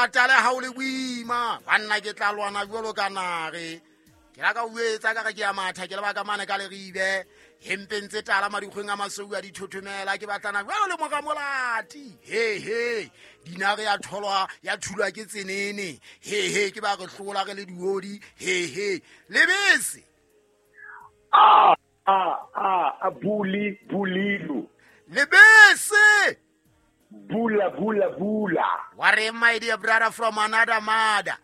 thata le ha o le boima. Banna ke tla lwana jwalo ka nare. Ke la ka o etsa ka re ke ya matha ke le baka mane ka leribe. Hempeng tse tala madikgweng a masweu a dithothomela ke batlana jwalo le moramolati. He he, dinare ya tholwa ya thulwa ke tsenene. He he, ke ba re hlola re le diodi. He he, lebese. A a a a buli bulilu. Lebese. Bula bula bula. Wa re, my dear brother from another mother.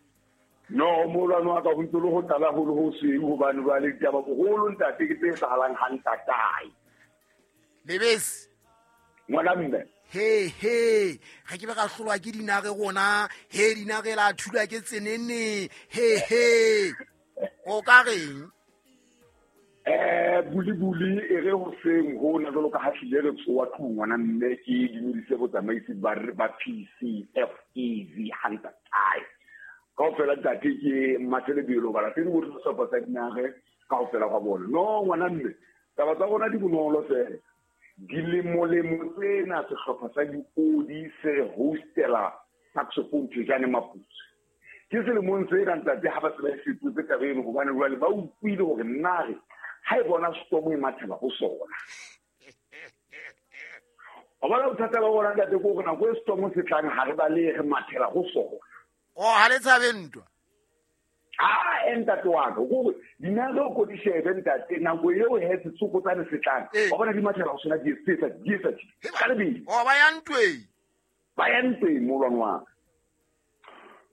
No, molwane wa ka ho ntse le ho tlala holo ho sweu hobane jwale ditaba boholo ntate ke tse etsahalang ha ntatae. Lebese. Ngwana mme. He he, ga ke be ka hlolwa ke dinare rona, he dinare la thulwa ke tsenene. He he. O ka reng? Buli buli e re hoseng hona jwalo ka ha hlile re tsoa tlung ngwana mme ke dumedise botsamaisi ba PCFEV ha ntatae. Kaofela ntate ke Mmathelebelo balatedi bohle ba sehlopha sa dinare kaofela gwa bona. No ngwana mme, taba tsa rona di bonolo fela. Dilemolemo tsena sehlopha sa diodi se re hostela saxophone Thejane Maputsi. Ke selemong se ka ntate ha ba se ba e fetotse taba eno hobane jwale ba utlwile hore nare ha e bona storm e mathela ho sona. Wa bona bothata ba bona ntate ke hore nako e storm se tlang ha re balehe re mathela ho sona. O ha le tshabe ntwa? Ah, ntate wa ka, kore dinare o ko di shebe ntate, nako eo he setsokotsane se tlang. Wa bona di mathela ho sona di etsa, di etsa, di etsa. Ka lebelo. O ba ya ntweng. Ba ya ntweng molwane wa ka.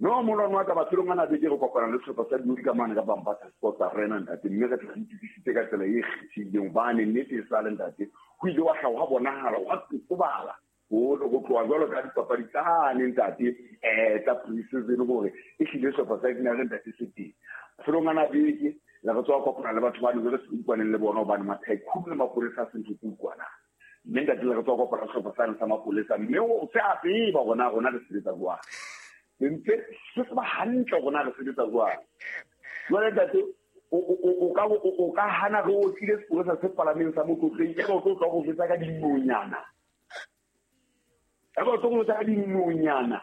No molwane wa ka mafelong ana beke re kopana le sehlopha sa diodi ka mane ka Bambata Sports Arena ntate, mme re tla re itokisitse ka tsela e kgethehileng hobane nnete e sale ntate, ho ile wa hlaha hwa bonahala hwa totobala ho tloha jwalo ka dipapadi tsane ntate, tsa pre-season hore e hlile sehlopha sa dinare ntate se teng. Mafelong ana beke le re tswa kopana le batho ba ne re se utlwaneng le bona hobane matycoon le mapolesa a se ntho tse utlwanang. Mme ntate le re tswa kopana le sehlopha sane sa mapolesa, mme o se a tseba hore na rona re sebetsa jwang. Ntse se tseba hantle hore na re sebetsa jwang. Jwale ntate, o ka hana re otlile sepolesa se palameng sa motlotleng, ebe o tlo tla go jwetsa ka dinonyana. Ebe o tlo go jwetsa ka dinonyana.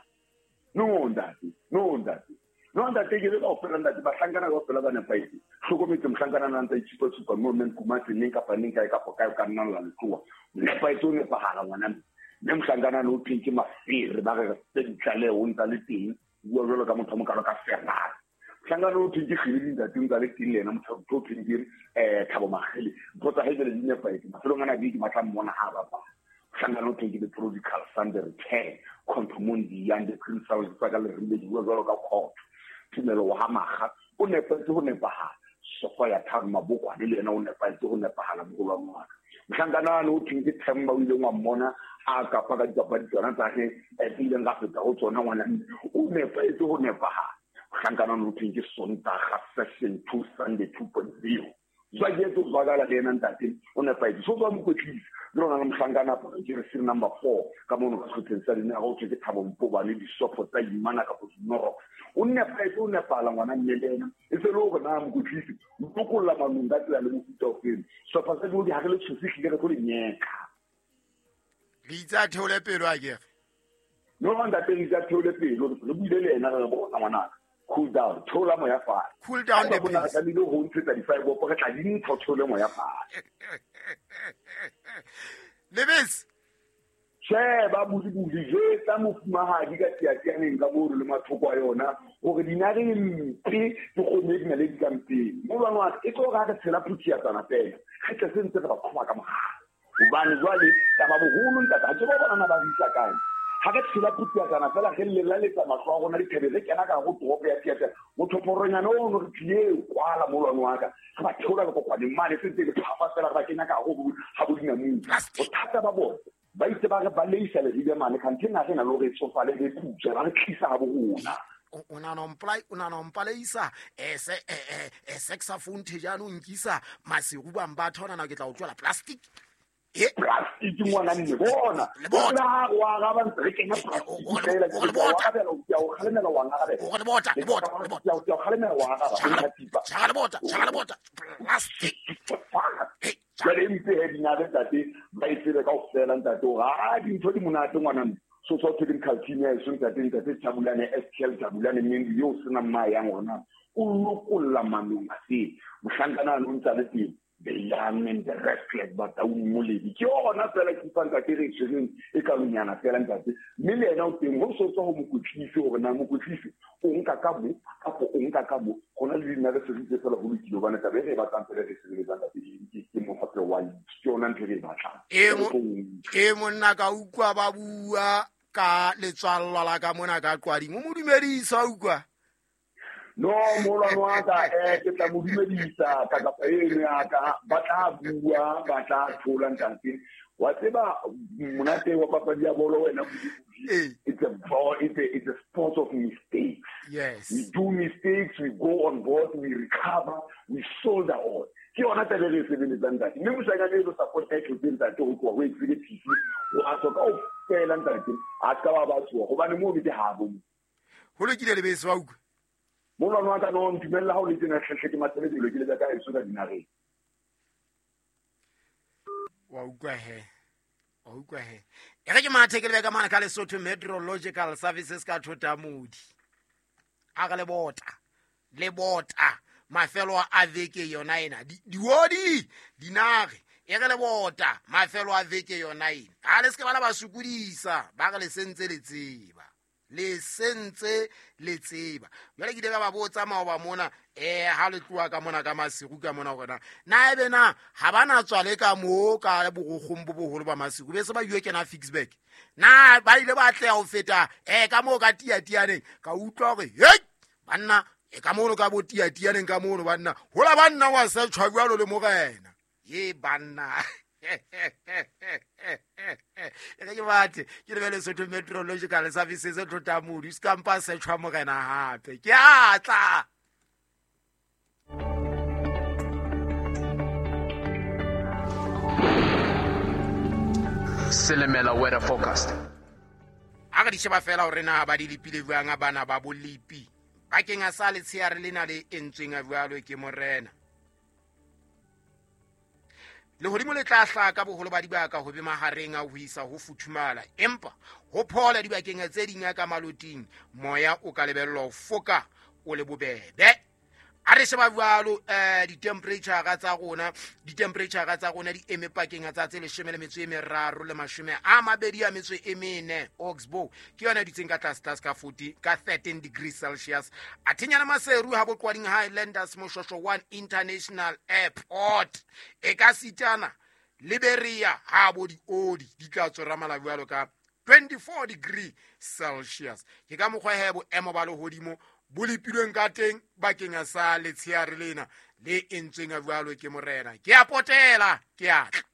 No ntate, no ntate. No ntate, ke le kaofela ntate, bahlankana kaofela ba nepahetse. Hlokometse mohlankana na ntse a itshupa-tshupa mo mme Nkumatse neng kapa neng kae kapa kae o ka nna la letloa. Nepahetse o nepahala ngwana mme. Mme mohlankana o thweng ke Mafere, ba re re fe ditlaleho o ntsa le teng, bua jwalo ka motho a mokalo ka Ferrari. Mohlankana o thweng ke Kgele ntate o ntsa le teng le yena motho o thweng ke Thabo Makgele. Ntho tsa hae jwale di nepahetse. Mafelong ana beke ba tla mmona ha a bapala. Mohlankana o thweng ke the Prodigal Son, the Return, Khonto Mondi, and the Prince House tsa ka Leribe di bua jwalo ka Khotho. Tumelo wa ha Makga o nepahetse ho nepahala. Sofa ya Thabo Mabokwane le yena o nepahetse ho nepahala moholo wa ngwana. Mohlankana o thweng ke Themba o ileng wa mmona a kapa ka dipapadi tsona tsa hae, tse ileng ra feta ho tsona ngwana mme. O nepahetse ho nepahala. Mohlankana o thweng ke Sontaga session 2 Sunday 2.0. Jwale ke tlo zwakala le yena ntate, o nepahetse. So tswa mokwetlisi, le rona le mohlankana ke re serial number 4 ka mono ka sehlopheng sa dinare, o thwe ke Thabo Mpobane, disopho tsa Imana kapa Dinorox. O nepahetse, o nepahala ngwana mme le yena. E se le hore na mokwetlisi o lokolla manong ka tsela le mofuta o feng. Sehlopha sa diodi ha re le tshose hlile re tlo le nyeka. Le itse a theole pelo a kere? No, ntate, le itse a theole pelo. Re buile le yena re re bona ngwanaka. Cool down, theola moya fatshe. Cool down the Haeba bona re pace. tlamehile ho ntshetsa di-five up, re tla di ntsha, o theole moya fatshe. Lebese. Sheba buli-buli, jwetsa mofumahadi ka tiatianeng ka mono le mathoko a yona hore dinare e mpe ke kgomo e dinaledi ka mpeng. Molwane wa ka, e tlo re ha re tshela phuthiatsana fela, re tle se ntse re ba qhoba ka mogala. Hobane jwale taba boholo ntate, ha ke ba bona na ba re isa kae. Ha re tshela phuthiatsana fela, re lelaletsa mahlo a rona dithabeng, re kena ka hare ho toropo ya Tiatiana. Mothophoronyana ono re tlile kwala molwane wa ka, re ba theola lekokwaneng mane, se ntse le phafa fela, re ba kenya ka hare ho ha bo dinamune. Plastic. Bothata ba bona, ba itse ba re baleisa leribe mane, kganthe naha ena le hore e tsofale le putswe, ba re tlisa ha bo rona. O nahana ho mpolai-, o nahana ho mpaleisa, se, saxophone thejane o nkisa Maseru bang ba thona na ke tla o tlohela plastic. E. Plastic ngwana mme, bona. Le bona. Bona ha re wa araba ntse re kenya plastic O fela, o ke le tla o bota. arabela, o tla o kgalemela, wa ngarabela. O le bota, le bota, le bota. Ke tla o kgalemela, wa araba, o nka thipa. Tjhaka le bota, tjhaka le bota. Plastic. Hey, Jwale e mpe he dinare ntate, ba e tsebe kaofela ntate hore, ha dintho di monate ngwana mme. So tswa technical team ya eso ntate ntate Jabulane SKL Jabulane Mendu yo sena mma yang hona o lokolla manong a se mohlankana o ntsa le teng the young and the restless but a moledi ke yona fela ke fa ntate re tshwereng e ka lonyana fela ntate mme le yena o teng ho so tswa ho mokotlisi hore na mokotlisi o nka ka mo kapo o nka ka mo gona le dina re sebeditse fela ho lokile hobane taba e re e batlang fela re sebeletsang ntate ke mohape wa league ke yona ntho e re e batlang. E monna ka utlwa ba bua ka letswallwa la ka mona ka Qwading o mo dumedisa utlwa. No molwane wa ka ke tla mo dumedisa ka kapa eno ya ka ba tla bua ba tla thola ntate wa tseba monate wa papadi ya bolo wena it's a ball, it's a sport of mistakes. Yes, we do mistakes, we go on board, we recover, we soldier on. Ke yona taba e re e sebeletsang ntate mme moshanyana e lo support e tlotse ntate ho tloha ho executive wa tswa kaofela ntate a ska ba ba tsoha hobane moo ke habo ho lokile le bese wa utlwa. Molwane wa ka no ntumella ha o le tena hle ke matsele dilo ke le ka eso ka dinareng. Wa utlwa he. Wa utlwa he. E re ke mathe ke le ka mana ka Lesotho Meteorological Services ka Thotamodi. A re le bota. Le bota mafelo a veke yona ena. Diodi dinare e re le bota mafelo a veke yona ena. Ha le se ke bana ba sokodisa ba re le sentse le tseba. Le sentse le tseba. Jwale ke ile ka ba botsa maoba mona ha le tloha ka mona ka Maseru ka mona hore na ebe na ha ba na tswa le ka moo ka borokgong bo boholo ba Maseru be se ba ile kena Ficksburg na ba ile ba atleha ho feta ka moo ka Tiatianeng ka utlwa hore hei banna ka mono ka bo Tiatianeng ka mono banna hola banna wa sa tshwa jwalo le morena ye banna. E re ke bathe ke lebele Lesotho Meteorological Services e Thotamodi se kampa se tshwa morena hape ke a tla. Selemela weather forecast. A re di sheba fela hore na ba di lepile jwang bana ba bolipi bakeng a sa letsheare lena le entsweng a jwalo ke morena. Lehodimo le tla hlaka boholo ba dibaka ho be mahareng a ho isa ho futhumala empa ho phola dibakeng tse ding ka maloting moya o ka lebellwa ho foka o le bobebe. A re sheba jwalo di-temperature tsa rona di-temperature tsa rona di eme pakeng tsa tse 13 le 24 Oxbow ke yona dutseng ka tlase tlase ka 40 ka 13 degrees Celsius. A thenyana Maseru ha Boqwading Highlanders Moshosho 1 International Airport e ka sitana Liberia ha bo diodi di tla tsora jwalo ka 24 degree Celsius. Ke ka mokgwa he boemo ba lehodimo bo lepilweng ka teng bakeng sa letsheare lena le entsweng jwalo ke morena. Ke a potela ke a tla.